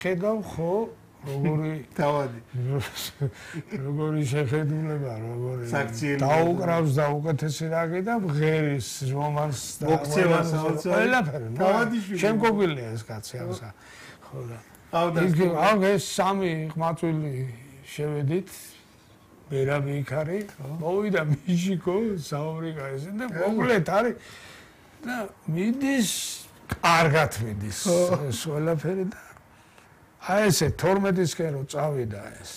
ხედავ ხო როგორი თავადი როგორი შეხედულება როგორი დაუკრავს და უკეთესი რაკი და ღერის რომანს და ყველაფერი შემკობილია ეს კაცი ამსა ხო და აუ ეს სამი ყმაწვილი შევედით ვერავი იქ არის მოვიდა მიშიკო საუბრიკა ეს და მოკლედ არის და მიდის კარგად მიდის ეს ყველაფერი და აი ესე 12-ისკენ რო წავიდა ეს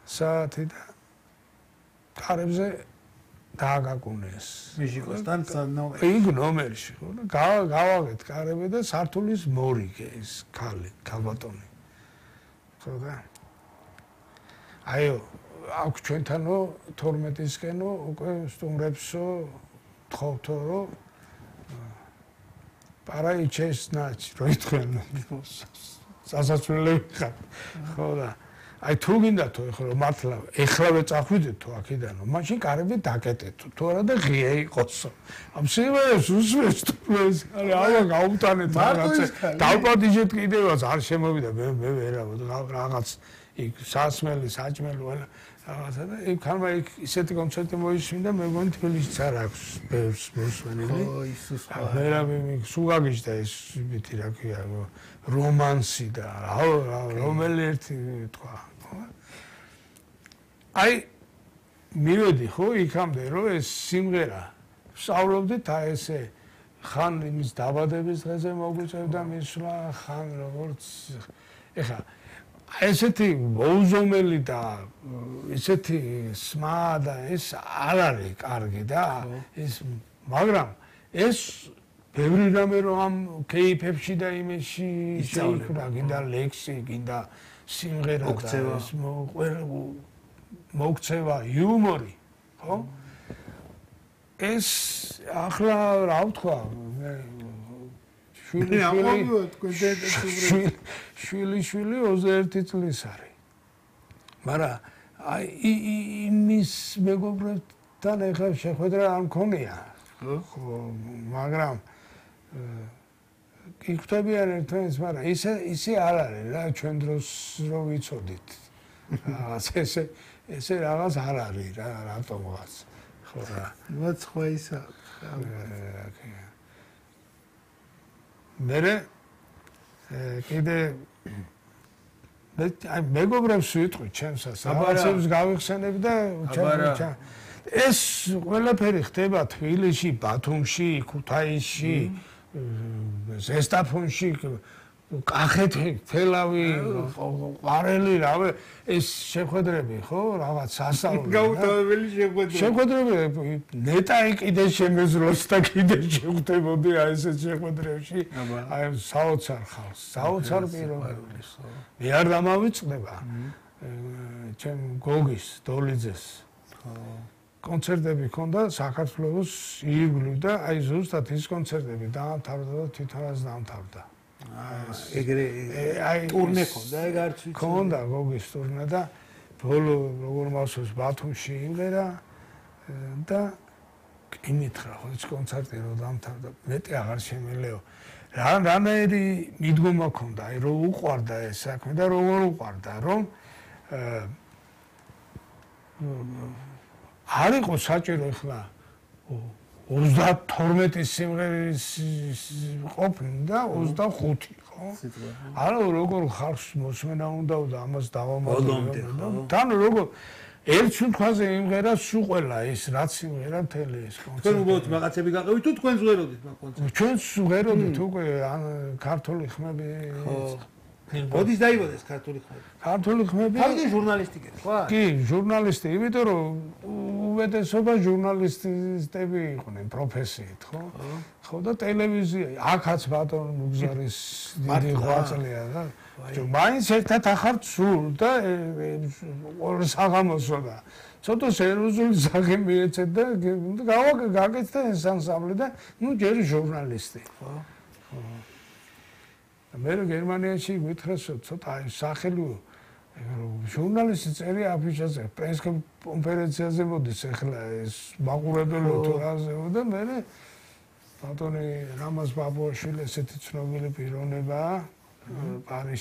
საათი და კარებზე დააგაკუნეს მიშიკოსთან ნომერი იქ ნომერში ხო და გავაგეთ კარები და სართულის მორიგე ეს ქალბატონი ხო და აიო აქ ჩვენთანო 12-ისკენო უკვე სტუმრებსო თხოვთო რომ პარაიჩესნაჩ რო ითქვენ სასაცვლელი ხარ ხო და აი თუ გინდა თუ ხო მართლა ეხლავე წახვიდეთ თუ აქედანო მაშინ კარები დაკეტეთ თუ არა და ღია იყოსო ამ სიმღერას უსმენს თუ ეს არა გაუტანეთ რაღაცა დავპატიჟეთ კიდევაც არ შემოვიდა მე რაღაც იქ სასმელი საჭმელი ყველა რაღაცა და იქ ხარმა იქ ისეთი კონცერტი მოისმინდა მე მგონი თბილისიც არ აქვს ბევრს მოსვენილი ო ისუს ვერავე სულ გაგიჟდა ეს მითი რა ქვია რომანსი და რომელი ერთი თქვა აი მივედი ხო იქამდე რომ ეს სიმღერა ვსწავლობდით აი ესე ხან იმის დაბადების დღეზე მოგვიწევდა მისვლა ხან როგორც ეხა ესეთი მოუზომელი და ესეთი სმა და ეს არ არის კარგი და ეს მაგრამ ეს ბევრი რამე რომ ამ кейფებში და იმეში შეიქმნა გინდა ლექსი გინდა სიმღერა და ეს მოგცევა იუმორი ხო ეს ახლა რა ვთქვა შვილი 21 წლის არის მაგრამ აი იმის მეგობრებთან ეხლა შეხვედრა არ მქონია ხო მაგრამ იქთებიან ერთმანეთს მაგრამ ისე არ არის რა ჩვენ დროს რო ვიცოდით რაღაც ესე რაღაც არ არის რა რატომღაც ხო რა მათ სხვა ისა მერე კიდე აი მეგობრებს ვიტყვი ჩემსას რაღაცებს გავიხსენებ და ეს ყველაფერი ხდება თბილისში, ბათუმში, ქუთაისში, ზესტაფონში, კახეთი, თელავი, ყვარელი, რავე, ეს შეხვედრები, ხო, რაღაც სასწაული. გაუთავებელი შეხვედრები, ნეტაი კიდე შემეძლოს და კიდე შეხვდებოდი აი ესეთ შეხვედრებში. აი საოცარ ხალხს, საოცარ პიროვნებას. მე არ დამავიწყდება. ჩემ გოგის, დოლიძეს. კონცერტები ქონდა საქართველოს ირგვლივ და აი ზუსტად ის კონცერტები დაამთავრდა და თვითონაც დაამთავრდა. ეგრე აი ტურნე ქონდა ეგ არც ვიცი. ქონდა გოგის ტურნე და ბოლო როგორ მახსოვს ბათუმში იმერა და იმითხრა ხო ეს კონცერტი რომ დაამთავრდა მეტი აღარ შემელეო. რანაირი მიდგომა ქონდა აი რომ უყვარდა ეს საქმე და როგორ უყვარდა რომ არ იყო საჭირო ახლა 32 სიმღერის ყოფნა და 25 ხო? არა როგორ ხალხს მოსმენა უნდა და ამას დავამატებდა. თან როგორ ერთ თვალზე იმღერა სულ ყველა ეს რაც სიმღერა მთელი ეს კონცერტი. თქვენ უბრალოდ რაღაცები გაყევით თუ თქვენ ზღეროდით მაგ კონცერტს? ჩვენ ზღეროდით უკვე ქართული ხმები ოდის დაიბადეს ქართული ხმები. ქართული ხმები? თავიდან ჟურნალისტი გეთ, ხო? კი, ჟურნალისტი, იმიტომ რომ უმეტესობა ჟურნალისტები იყვნენ პროფესიით, ხო? ხო და ტელევიზია, აქაც ბატონ მუგზარის დიდი ღვაწლია და მაინც ერთად ახარ სულ და საღამოსო და ცოტა სერიოზული სახე მიეცეთ და გაკეთდა ეს ანსამბლი და ნუ ჯერ ჟურნალისტი, ხო? მე გერმანიაში გითხრას ცოტა სახელი ჟურნალისტი წერია აფიშაზე პრეს კონფერენციაზე მოდის ახლა ეს მაყურებელი თუ რაზე და მე ბატონი რამაზ ბაბუაშვილი ესეთი ცნობილი პიროვნებაა პარიზში